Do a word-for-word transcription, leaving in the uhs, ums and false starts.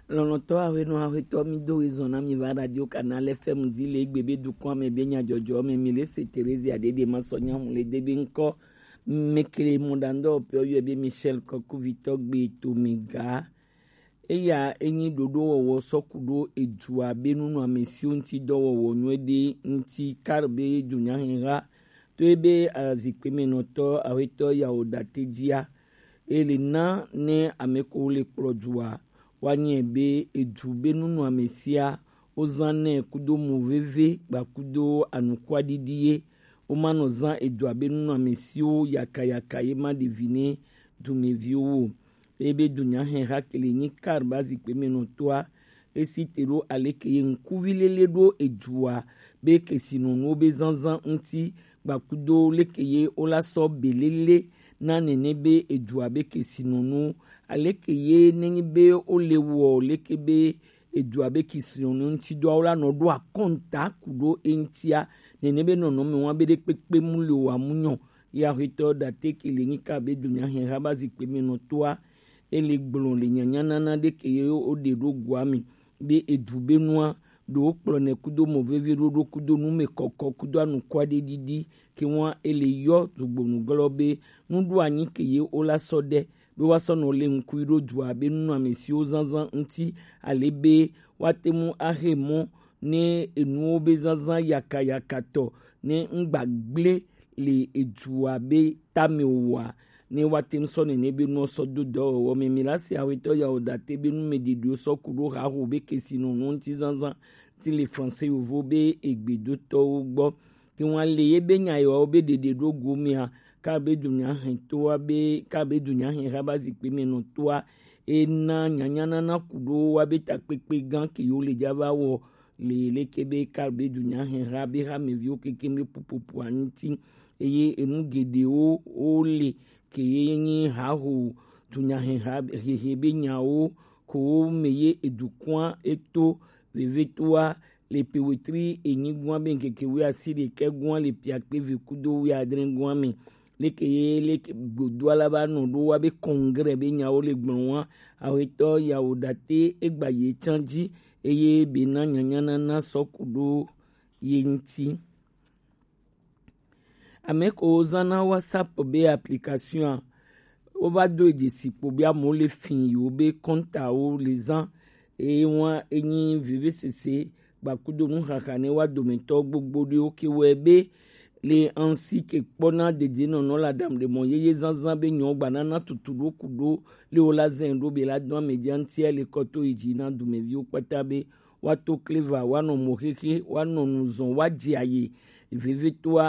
Lɔlɔ̃tɔ aƒenɔ aƒetɔ, mi do ɣezɔn na mi va Radio Canal F M dzi le egbe be dukɔa me be nyadzɔdzɔ me, mi le se Teresia Dede ma sɔ nya hu le de be ŋkɔ. Mekele mɔɖaŋudɔwɔƒewo yɔe be Michel Kɔkuvitɔ gbe to mi ga. Eya enyi ɖoɖowɔwɔ sɔ ku ɖo edzua be nunɔamesiwo ŋuti dɔwɔwɔ nyuie ɖe ŋuti kar be dunyaheha to ebe azikpe me nɔtɔ aƒetɔ yawo date dzia. Ele na ne ame ko le kplɔ dua, woanyae be edu be nunɔamesia wozã nɛ kudo mo veve kpa kudo anukwaɖiɖi ye. Womanɔ zã edua be nunɔamesiwo yakayaka ye ma ɖevi ne dumeviwo o. Ebe dunyahe hakele nyi kar ba zikpe me nɔtɔa, esi te ɖo aleke ye ŋkuvi lele ɖo edzua be kesinɔnuwo be zazã ŋuti, gbakudo leke ye wola sɔ belele na nene be edzua be kesinɔnu, aleke ye nenyi be wole wɔ leke be edzua be kesinɔnu ŋuti dɔa wola nɔ ɖo akɔnta ku ɖo eŋutia, nene be nɔnɔme wa be ɖe kpekpe mu le wa mu nyɔ. Ya hetɔ date ke le nyika be dunyahe ha ba zikpe me nɔtɔa, ele gblɔ le nyanyanana ɖe ke ye woɖe ɖo goa me be edu be nua ɖo kplɔ ne kudo mɔ veve ɖo ɖo kudo nu me kɔkɔ kudo anukwa ɖe ɖiɖi ke wa ele yɔ dugbonu glɔ be nuɖo anyi ke ye wola sɔ ɖe be wa sɔ nɔ le ŋkui ɖo dua be nunɔamesiwo zazã ŋuti ale be woate ŋu ahe mɔ ne enuwo be zazã yakayakatɔ ne ŋgbagble le edzua be tame oa, ne woate ŋu sɔ nene be nuwo sɔ do dɔwɔwɔ me. Mi la se awetɔ yawo date be nu me ɖiɖiwo sɔ ku ɖo haho be kesinɔnu ŋuti zazã ti le français yovo be egbedotɔwo gbɔ. Ke wa le ye be nya yewo be ɖeɖe ɖo go mea, ka be dunya hɛntɔa be ka be dunya hɛn ha ba zikpe me nɔtɔa, ena nyanyanana ku ɖo wa be takpekpe gã ke yewo le dza va wɔ le leke be ka be dunya hɛn ha be hameviwo keke be pupupu aŋuti. Eye enu geɖewo wo le ke ye nyi haho dunya hɛn ha hehe be nyawo ko me ye edukɔa eto vevetoa le pe wetri enyi gua be ŋkeke wuiasi ɖekɛ gua le piakpe ve kudo wuiadre gua me. Leke ye leke godo ala ba nɔ ɖo wa be congrès be nyawo le gblɔ wa, awetɔ yawo date egba ye tsan dzi eye be na nyanyanana sɔ ku ɖo ye ŋuti. Ame ko zãna WhatsApp be application a, wova do dzesi kpo be amewo le fi yewo be kɔntawo le zã. Eye wa enyi vevesese gbakudo nuxaxa ne wa dometɔ gbogbo ɖewo ke wɔe be le ansi ke kpɔna dedienɔnɔ le aɖaŋuɖemɔ yeye zazã be nyɔ gbanana tutu ɖo ku ɖo le wo la zɛ ɖo be la do amedzia ŋutia le kɔto yi dzi na dumeviwo kpata be woato kleva, woanɔ mo xexe, woanɔ nu zɔn, woadze aye vevitoa